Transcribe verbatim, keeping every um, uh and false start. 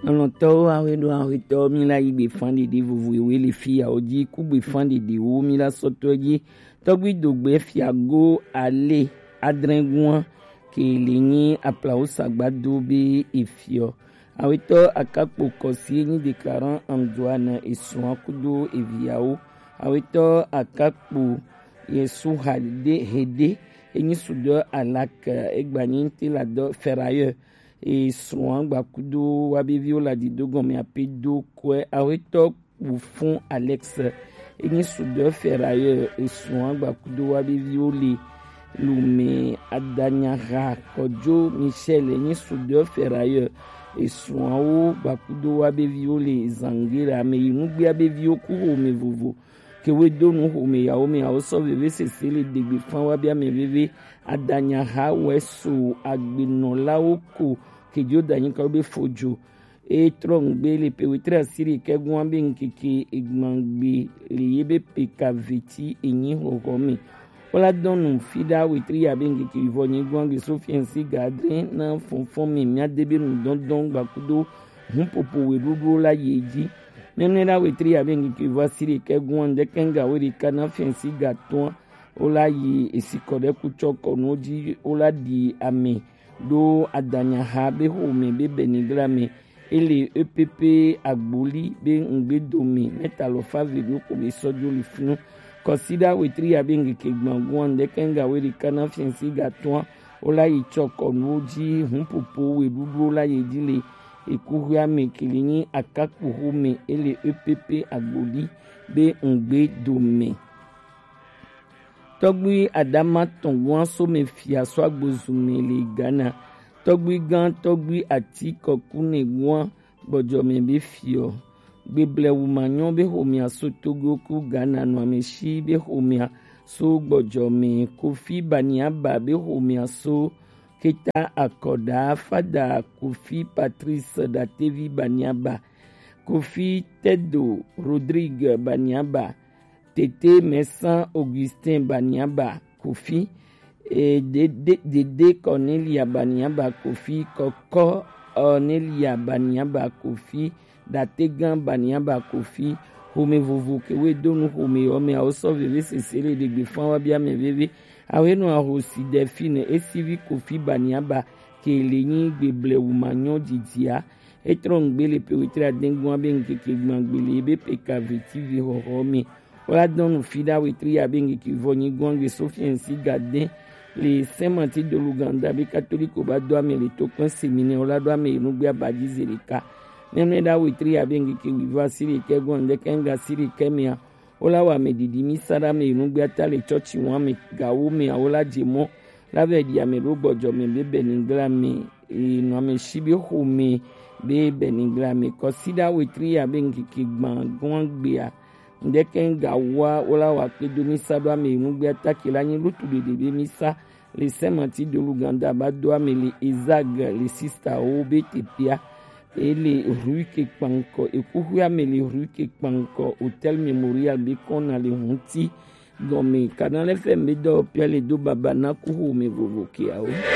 Lɔntɔwo, awe ɖo awe tɔ, mi la yi gbe fan ɖeɖe vovo ewe le fi yawo ji, ku gbe fan ɖeɖewo mi la sɔtɔ ji. Tɔgbi dogbe fiago ale adrɛnguan ke le nyi aplawo sagbado be efiɔ. Awetɔ akakpo kɔsi enyi déclarant Antoine esua kudo eviawo. Awetɔ akakpo yesu hade hede enyi sudɔ alak egbanyi te la dɔ ferrailleur. Esrɔ̃a gbakudo wa be viwo le adido gɔme ape do kɔe. Awetɔ kpu fun Alex enyi sudɔ ferrailleur. Esrɔ̃a gbakudo wa be viwo le lume adanyaha kɔdzo Michel enyi sudɔ ferrailleur. Esrɔ̃awo gbakudo wa be viwo le zangera ame yi nugbea be viwo ku xome vovo. Ke woe do nu xome yawo me awo sɔ veve sese le degbe fan wa bia me veve. Adanyaha wɛ so agbenɔlawo ko kejo danyi ka be fojo. E trɔ ŋgbe le pe wetre asiri kɛgun abe ŋkeke egbangbe le ye be pe ka veti enyi xɔxɔ me. Wola dɔn nu fi ɖa wetri ya be ŋkeke vɔ nyi gun agbe so fiɛnsi gadre na fɔnfɔn me mia de be nu dɔndɔn gbakudo hun popo we ɖuɖuwo la ye ji. Míanɔe ɖa wetri ya be ŋkeke vɔ asiri kɛgun ande kɛnga we ɖeka na fiɛnsi gatɔn. Wola yi esikɔ ɖe kutsɔ kɔnuwo ji wola ɖi ame ɖo adanyaha be xome be benigla me. Ele E P P agboli be ŋgbe dome mɛta lɔ fa ve ɖo ko be sɔ jo li funu. Kɔsiɖa wetri ya be ŋkeke gbangun ande kɛnga we ɖeka na fiɛnsi gatɔn. Wola yi tsɔ kɔnuwo ji hun popo we ɖuɖuwo la ye ji le ekuxuia me kele nyi akakpo xome ele E P P agboli be ŋgbe dome. Tɔgbui Adama tɔn guan some fia so agbozume le Ghana. Tɔgbui gan tɔgbui ati kɔkune guan gbɔdzɔme be fiɔ. Gbeble wumanyɔ be xomea so Togo ku Ghana nɔ ameshi be xomea so gbɔdzɔme. Kofi Baniaba be xomea so Keta Akɔda, Fada Kofi Patrice Datevi Baniaba, Kofi Tedo Rodrigue Baniaba, Tete Mɛsan Augustin Baniaba Kofi, e, Dede, Dede Cornelia Baniaba Kofi, Kɔkɔ Cornelia Baniaba Kofi, Dategan Baniaba Kofi, xome vovo ke we do nu xome yɔ me awo sɔ veve sese le ɖegbe fan wa bia me veve. Awe nɔ ahosi Delphine esivi Kofi Baniaba ke le nyi gbeble wumanyɔ didia. Etrɔ ŋgbe le pe wetre adengun abe ŋkeke gbangbe le be pe ka veti vi xɔxɔ me. Wola dɔn nu fi ɖa wetri ya be ŋkeke vɔ nyi guangbe so fiɛnsi gaden le Saint Martin de l'Ouganda be katoliko ba do ame le to kpɛn semine wola do ame enugbe abaji ze ɖeka. Míanɔe ɖa wetri ya be ŋkeke wivɔ asiri kɛ guan ɖe kɛ ŋga asiri kɛ mea. Wola wɔ ame ɖiɖi mi sa ɖa ame enugbe ata le tsɔtsi wɔn ame gawo mea wola dze mɔ la vɛ ɖi ame ɖo gbɔdzɔ me be benigla me. Enɔ ame shi be xome be benigla me kɔsiɖa wetri ya be ŋkeke gbã gɔn gbea. Ŋdɛkɛ ŋga wa wola wa kpe do mi sa ɖo ame enugbe ata ke la nyi lutu ɖeɖe be mi sa le Saint Martin de l'Ouganda ba do ame le Ezag le sista wo be tepea. Ele rue ke kpankɔ ekuxuia me le rue ke kpankɔ Hotel Memorial be kɔna le hunti gɔme kana le fɛ mbe dɔ pia le do baba na kuxu me vovo kiawo.